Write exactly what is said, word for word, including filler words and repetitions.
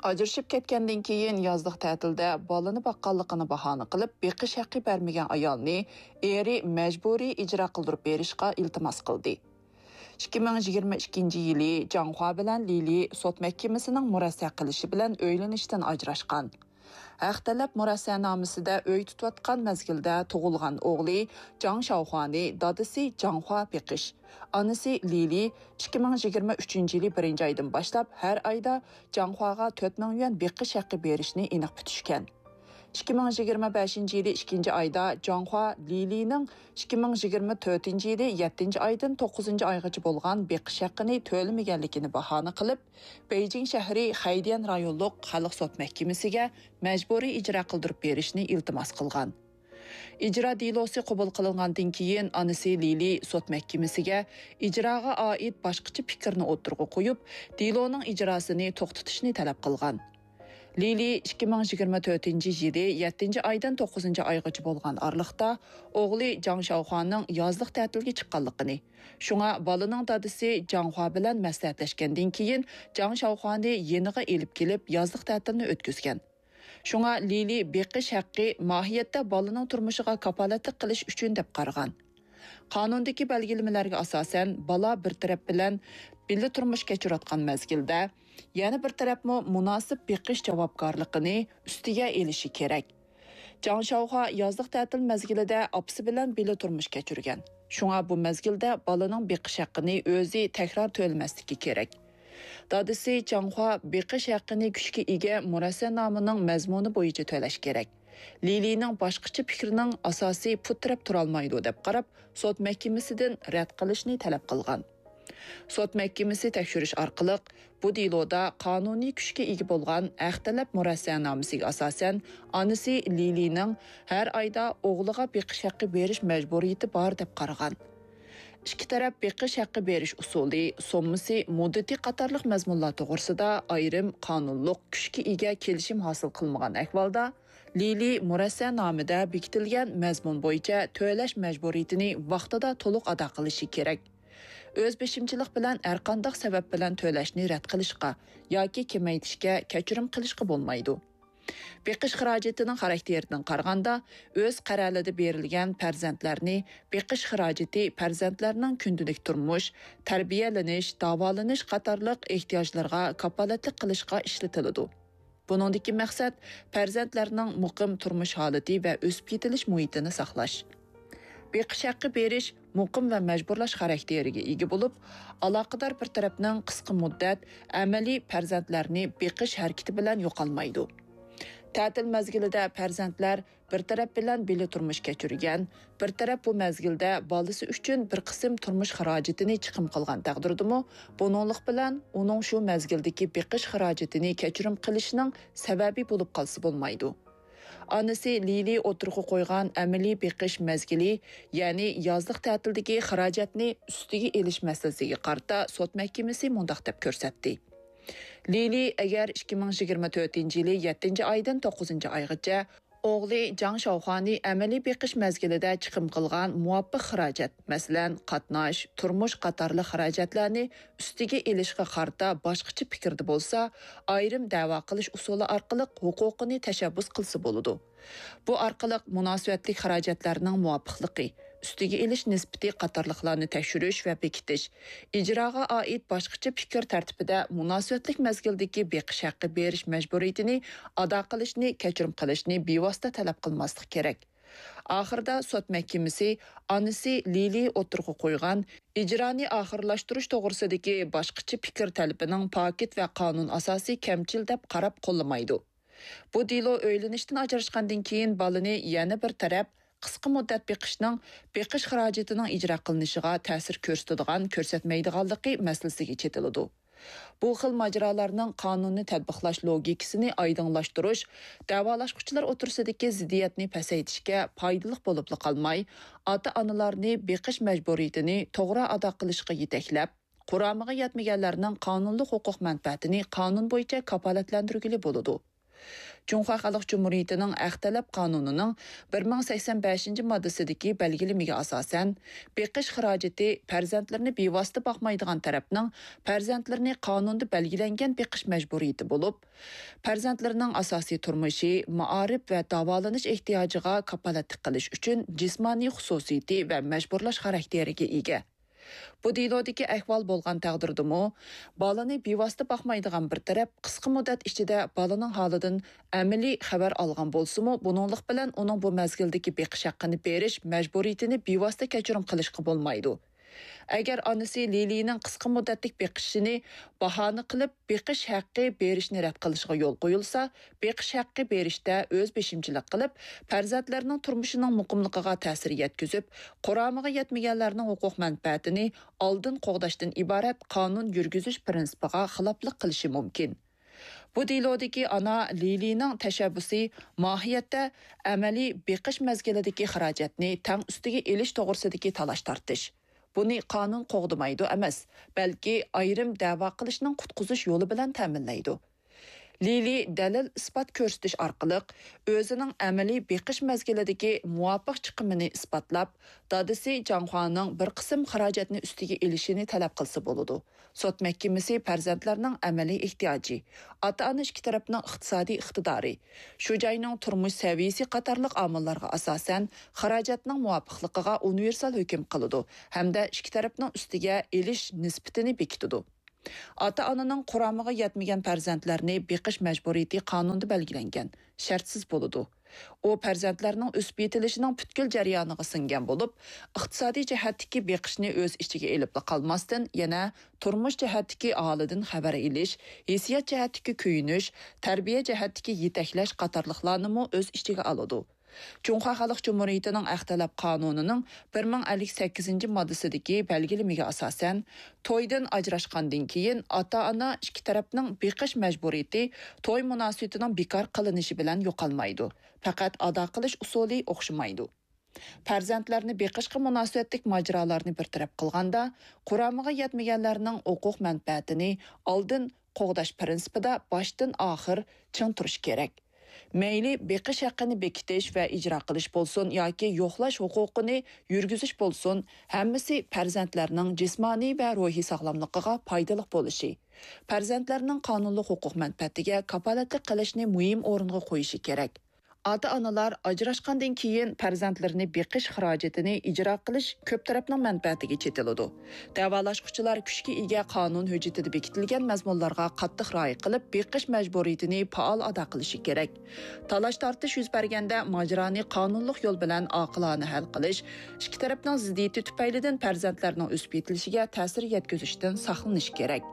ئاجرىشىپ كەتكەندىن كېيىن يازلىق تەتىلدە بالىنى باققانلىقىنى باھانە قىلىپ، بېقىش ھەققى بەرمىگەن ئايالنى ئېرى مەجبۇرىي ئىجرا قىلدۇرۇپ بېرىشقا ئىلتىماس قىلدى. ئىككى مىڭ يىگىرمە ئىككىنچى يىلى جاڭخۇا بىلەن لىلى سوت مەھكىمىسىنىڭ مۇرەسسە قىلىشى بىلەن ئۆيلىنىشتىن ئاجراشقان. ھەق تەلەپ مۇرەسسەنامىسىدە ئۆي تۇتۇۋاتقان مەزگىلدە تۇغۇلغان ئوغلى جاڭ شاۋخۇانى دادىسى جاڭخۇا بېقىش، ئانىسى لىلى ئىككى مىڭ يىگىرمە ئۈچىنچى يىلى بىرىنچى ئايدىن باشلاپ ھەر ئايدا جاڭخۇاغا تۆت مىڭ يۈەن بېقىش ھەققى بېرىشنى ئېنىق پۈتۈشكەن. ئىككى مىڭ يىگىرمە بەشىنچى يىلى ئىككىنچى ئايدا جاڭخۇا لىلىنىڭ ئىككى مىڭ يىگىرمە تۆتىنچى يىلى يەتتىنچى ئايدىن توققۇزىنچى ئايغىچە بولغان بېقىش ھەققىنى تۆلىمىگەنلىكىنى باھانە قىلىپ، بېيجىڭ شەھىرى خەيديەن رايونلۇق خەلق سوت مەھكىمىسىگە مەجبۇرىي ئىجرا قىلدۇرۇپ بېرىشنى ئىلتىماس قىلغان. ئىجرا دېلوسى قوبۇل قىلىنغاندىن كېيىن، ئانىسى لىلى سوت مەھكىمىسىگە ئىجراغا ئائىت باشقىچە پىكىرنى ئوتتۇرىغا قويۇپ، دېلونىڭ ئىجراسىنى توختىتىشنى تەلەپ قىلغان. لىلى ئىككى مىڭ يىگىرمە تۆتىنچى يىلى يەتتىنچى ئايدىن توققۇزىنچى ئايغىچە بولغان ئارىلىقتا ئوغلى جاڭ شاۋخۇانىڭ يازلىق تەتىلگە چىققانلىقىنى، شۇڭا بالىنىڭ دادىسى جاڭخۇا بىلەن مەسلىھەتلەشكەندىن كېيىن، جاڭ شاۋخۇانى يېنىغا ئېلىپ كېلىپ، يازلىق تەتىلنى ئۆتكۈزگەن. شۇڭا لىلى بېقىش ھەققى ماھىيەتتە بالىنىڭ تۇرمۇشىغا كاپالەتلىك قىلىش ئۈچۈن دەپ قارىغان. قانۇندىكى بەلگىلىمىلەرگە ئاساسەن، بالا بىر تەرەپ بىلەن بىللە تۇرمۇش كەچۈرۈۋاتقان مەزگىلدە، يەنە بىر تەرەپمۇ مۇناسىپ بېقىش جاۋابكارلىقىنى ئۈستىگە ئېلىشى كېرەك. جاڭ شاۋخۇا يازلىق تەتىل مەزگىلىدە ئاپىسى بىلەن بىللە تۇرمۇش كەچۈرگەن. شۇڭا بۇ مەزگىلدە بالىنىڭ بېقىش ھەققىنى ئۆزى تەكرار تۆلىمەسلىكى كېرەك. دادىسى جاڭخۇا بېقىش ھەققىنى كۈچكە ئىگە مۇرەسسەنامىنىڭ مەزمۇنى بويىچە تۆلەش كېرەك. لىلىنىڭ باشقىچە پىكرىنىڭ ئاساسى پۇت تىرەپ تۇرالمايدۇ، دەپ قاراپ، سوت مەھكىمىسىدىن رەت قىلىشنى تەلەپ قىلغان. سوت مەھكىمىسى تەكشۈرۈش ئارقىلىق، بۇ دېلودا قانۇنىي كۈچكە ئىگە بولغان ھەق تەلەپ مۇرەسسەنامىسىگە ئاساسەن، ئانىسى لىلىنىڭ ھەر ئايدا ئوغلىغا بېقىش ھەققى بېرىش مەجبۇرىيىتى بار، دەپ قارىغان. ئىككى تەرەپ بېقىش ھەققى بېرىش ئۇسۇلى، سوممىسى، مۇددىتى قاتارلىق مەزمۇنلار توغرىسىدا ئايرىم قانۇنلۇق كۈچكە ئىگە كېلىشىم ھاسىل قىلمىغان ئەھۋالدا، لىلى مۇرەسسەنامىدە بېكىتىلگەن مەزمۇن بويىچە تۆلەش مەجبۇرىيىتىنى ۋاقتىدا تولۇق ئادا قىلىشى كېرەك. ئۆز بېشىمچىلىق بىلەن ھەرقانداق سەۋەب بىلەن تۆلەشنى رەت قىلىشقا ياكى كېمەيتىشكە، كەچۈرۈم قىلىشقا بولمايدۇ. بېقىش خىراجىتىنىڭ خاراكتېرىدىن قارىغاندا، ئۆز قەرەلىدە بېرىلگەن پەرزەنتلەرنى بېقىش خىراجىتى پەرزەنتلەرنىڭ كۈندىلىك تۇرمۇش، تەربىيەلىنىش، داۋالىنىش قاتارلىق ئېھتىياجلىرىغا كاپالەتلىك قىلىشقا ئىشلىتىلىدۇ. بۇنىڭدىكى مەقسەت پەرزەنتلەرنىڭ مۇقىم تۇرمۇش ھالىتى ۋە ئۆسۈپ يېتىلىش مۇھىتىنى ساقلاش. بېقىش ھەققى بېرىش مۇقىم ۋە مەجبۇرلاش خاراكتېرىگە ئىگە بولۇپ، ئالاقىدار بىر تەرەپنىڭ قىسقا مۇددەت ئەمەلىي پەرزەنتلەرنى بېقىش ھەرىكىتى بىلەن يوقالمايدۇ. تەتىل مەزگىلىدە پەرزەنتلەر بىر تەرەپ بىلەن بىللە تۇرمۇش كەچۈرگەن، بىر تەرەپ بۇ مەزگىلدە بالىسى ئۈچۈن بىر قىسىم تۇرمۇش خىراجىتىنى چىقىم قىلغان تەقدىردىمۇ، بۇنىڭلىق بىلەن ئۇنىڭ شۇ مەزگىلدىكى بېقىش خىراجىتىنى كەچۈرۈم قىلىشىنىڭ سەۋەبى بولۇپ قالسا بولمايدۇ. ئانىسى لىلى ئوتتۇرىغا قويغان ئەمەلىي بېقىش مەزگىلى، يەنى يازلىق تەتىلدىكى خىراجەتنى ئۈستىگە ئېلىش مەسىلىسىگە قارىتا سوت مەھكىمىسى مۇنداق دەپ كۆرسەتتى. لىلى ئەگەر ئىككى مىڭ يىگىرمە تۆتىنچى يىلى يەتتىنچى ئايدىن توققۇزىنچى ئايغىچە ئوغلى جاڭ شاۋخۇانى ئەمەلىي بېقىش مەزگىلىدە چىقىم قىلغان مۇۋاپىق خىراجەت، مەسىلەن، قاتناش، تۇرمۇش قاتارلىق خىراجەتلەرنى ئۈستىگە ئېلىشقا قارىتا باشقىچە پىكىردە بولسا، ئايرىم دەۋا قىلىش ئۇسۇلى ئارقىلىق ھوقۇقىنى تەشەببۇس قىلسا بولىدۇ. بۇ ئارقىلىق مۇناسىۋەتلىك خىراجەتلەرنىڭ مۇۋاپىقلىقى، ئۈستىگە ئېلىش نىسبىتى قاتارلىقلارنى تەكشۈرۈش ۋە بېكىتىش، ئىجراغا ئائىت باشقىچە پىكىر تەرتىپىدە مۇناسىۋەتلىك مەزگىلدىكى بېقىش ھەققى بېرىش مەجبۇرىيىتىنى ئادا قىلىشنى، كەچۈرۈم قىلىشنى بىۋاسىتە تەلەپ قىلماسلىق كېرەك. ئاخىرىدا سوت مەھكىمىسى ئانىسى لىلى ئوتتۇرىغا قويغان ئىجرانى ئاخىرلاشتۇرۇش توغرىسىدىكى باشقىچە پىكىر تەلىپىنىڭ پاكىت ۋە قانۇن ئاساسى كەمچىل دەپ قاراپ قوللىمايدۇ. بۇ دېلو ئۆيلىنىشتىن ئاجراشقاندىن كېيىن بالىنى يەنە بىر تەرەپ قىسقا مۇددەت بېقىشنىڭ بېقىش خىراجىتىنىڭ ئىجرا قىلىنىشىغا تەسىر كۆرسىتىدىغان، كۆرسەتمەيدىغانلىقى مەسىلىسىگە چېتىلىدۇ. بۇ خىل ماجىرالارنىڭ قانۇننى تەتبىقلاش لوگىكىسىنى ئايدىڭلاشتۇرۇش، دەۋالاشقۇچىلار ئوتتۇرىسىدىكى زىددىيەتنى پەسەيتىشكە پايدىلىق بولۇپلا قالماي، ئاتا-ئانىلارنى بېقىش مەجبۇرىيىتىنى توغرا ئادا قىلىشقا يېتەكلەپ، قۇرامىغا يەتمىگەنلەرنىڭ قانۇنلۇق ھوقۇق مەنپەئەتىنى قانۇن بويىچە كاپالەتلەندۈرگىلى بولىدۇ. جۇڭخۇا خەلق جۇمھۇرىيىتىنىڭ ھەق تەلەپ قانۇنىنىڭ بىر مىڭ سەكسەن بەشىنچى ماددىسىدىكى بەلگىلىمىگە ئاساسەن، بېقىش خىراجىتى پەرزەنتلىرىنى بىۋاسىتە باقمايدىغان تەرەپنىڭ پەرزەنتلىرىنى قانۇندا بەلگىلەنگەن بېقىش مەجبۇرىيىتى بولۇپ، پەرزەنتلىرىنىڭ ئاساسىي تۇرمۇشى، مائارىپ ۋە داۋالىنىش ئېھتىياجىغا كاپالەتلىك قىلىش ئۈچۈن جىسمانىي خۇسۇسىيىتى ۋە مەجبۇرلاش خاراكتېرىگە ئىگە. بۇ دېلودىكى ئەھۋال بولغان تەقدىردىمۇ، بالىنى بىۋاسىتە باقمايدىغان بىر تەرەپ قىسقا مۇددەت ئىچىدە بالىنىڭ ھالىدىن ئەمەلىي خەۋەر ئالغان بولسىمۇ، بۇنىڭلىق بىلەن ئۇنىڭ بۇ مەزگىلدىكى بېقىش ھەققىنى بېرىش مەجبۇرىيىتىنى بىۋاسىتە كەچۈرۈم قىلىشقا بولمايدۇ. ئەگەر ئانىسى لىلىنىڭ قىسقا مۇددەتلىك بېقىشىنى باھانە قىلىپ، بېقىش ھەققى بېرىشنى رەت قىلىشىغا يول قويۇلسا، بېقىش ھەققى بېرىشتە ئۆز بېشىمچىلىق قىلىپ، پەرزەنتلەرنىڭ تۇرمۇشىنىڭ مۇقىملىقىغا تەسىر يەتكۈزۈپ، قۇرامىغا يەتمىگەنلەرنىڭ ھوقۇق مەنپەئەتىنى ئالدىن قوغداشتىن ئىبارەت قانۇن يۈرگۈزۈش پىرىنسىپىغا خىلاپلىق قىلىشى مۇمكىن. بۇ دېلودىكى ئانا لىلىنىڭ تەشەببۇسى ماھىيەتتە ئەمەلىي بېقىش مەزگىلىدىكى خىراجەتنى تەڭ ئۈستىگە ئېلىش توغرىسىدىكى تالاش-تارتىش. بۇنى قانۇن قوغدىمايدۇ ئەمەس، بەلكى ئايرىم دەۋا قىلىشنىڭ قۇتقۇزۇش يولى بىلەن تەمىنلەيدۇ. لىلى دەلىل-ئىسپات كۆرسىتىش ئارقىلىق ئۆزىنىڭ ئەمەلىي بېقىش مەزگىلىدىكى مۇۋاپىق چىقىمىنى ئىسپاتلاپ، دادىسى جاڭخۇانىڭ بىر قىسىم خىراجەتنى ئۈستىگە ئېلىشىنى تەلەپ قىلسا بولىدۇ. سوت مەھكىمىسى پەرزەنتلەرنىڭ ئەمەلىي ئېھتىياجى، ئاتا-ئانا ئىككى تەرەپنىڭ ئىقتىسادىي ئىقتىدارى، شۇ جاينىڭ تۇرمۇش سەۋىيىسى قاتارلىق ئامىللارغا ئاساسەن، خىراجەتنىڭ مۇۋاپىقلىقىغا ئۇنىۋېرسال ھۆكۈم قىلىدۇ ھەمدە ئىككى تەرەپنىڭ ئۈستىگە ئېلىش نىسبىتىنى بېكىتىدۇ. ئاتا-ئانىنىڭ قۇرامىغا يەتمىگەن پەرزەنتلەرنى بېقىش مەجبۇرىيىتى قانۇندا بەلگىلەنگەن، شەرتسىز بولىدۇ. ئۇ پەرزەنتلەرنىڭ ئۆسۈپ يېتىلىشىنىڭ پۈتكۈل جەريانىغا سىڭگەن بولۇپ، ئىقتىسادىي جەھەتتىكى بېقىشنى ئۆز ئىچىگە ئېلىپلا قالماستىن، يەنە تۇرمۇش جەھەتتىكى ھالىدىن خەۋەر ئېلىش، ھېسسىيات جەھەتتىكى كۆيۈنۈش، تەربىيە جەھەتتىكى يېتەكلەش قاتارلىقلارنىمۇ ئۆز ئىچىگە ئالىدۇ. جۇڭخۇا خەلق جۇمھۇرىيىتىنىڭ ھەق تەلەپ قانۇنىنىڭ بىر مىڭ ئەللىك سەككىزىنچى ماددىسىدىكى بەلگىلىمىگە ئاساسەن، تويدىن ئاجراشقاندىن كېيىن ئاتا-ئانا ئىككى تەرەپنىڭ بېقىش مەجبۇرىيىتى توي مۇناسىۋىتىنىڭ بىكار قىلىنىشى بىلەن يوقالمايدۇ، پەقەت ئادا قىلىش ئۇسۇلى ئوخشىمايدۇ. پەرزەنتلەرنى بېقىشقا مۇناسىۋەتلىك ماجىرالارنى بىر تەرەپ قىلغاندا، قۇرامىغا يەتمىگەنلەرنىڭ ھوقۇق مەنپەئەتىنى ئالدىن قوغداش پىرىنسىپىدا باشتىن ئاخىر چىڭ تۇرۇش كېرەك. مەيلى بېقىش ھەققىنى بېكىتىش ۋە ئىجرا قىلىش بولسۇن ياكى يوقلاش ھوقۇقىنى يۈرگۈزۈش بولسۇن، ھەممىسى پەرزەنتلەرنىڭ جىسمانىي ۋە روھىي ساغلاملىقىغا پايدىلىق بولۇشى، پەرزەنتلەرنىڭ قانۇنلۇق ھوقۇق مەنپەئەتىگە كاپالەتلىك قىلىشنى مۇھىم ئورۇنغا قويۇشى كېرەك. ئاتا-ئانىلار ئاجراشقاندىن كېيىن پەرزەنتلىرىنى بېقىش خىراجىتىنى ئىجرا قىلىش كۆپ تەرەپنىڭ مەنپەئەتىگە چېتىلىدۇ. دەۋالاشقۇچىلار كۈچكە ئىگە قانۇن ھۆججىتىدە بېكىتىلگەن مەزمۇنلارغا قاتتىق رىئايە قىلىپ، بېقىش مەجبۇرىيىتىنى پائال ئادا قىلىشى كېرەك. تالاش-تارتىش يۈز بەرگەندە، ماجىرانى قانۇنلۇق يول بىلەن ئاقىلانە ھەل قىلىش، ئىككى تەرەپنىڭ زىددىيىتى تۈپەيلىدىن پەرزەنتلەرنىڭ ئۆسۈپ يېتىلىشىگە تەسىر يەتكۈزۈشتىن ساقلىنىش كېرەك.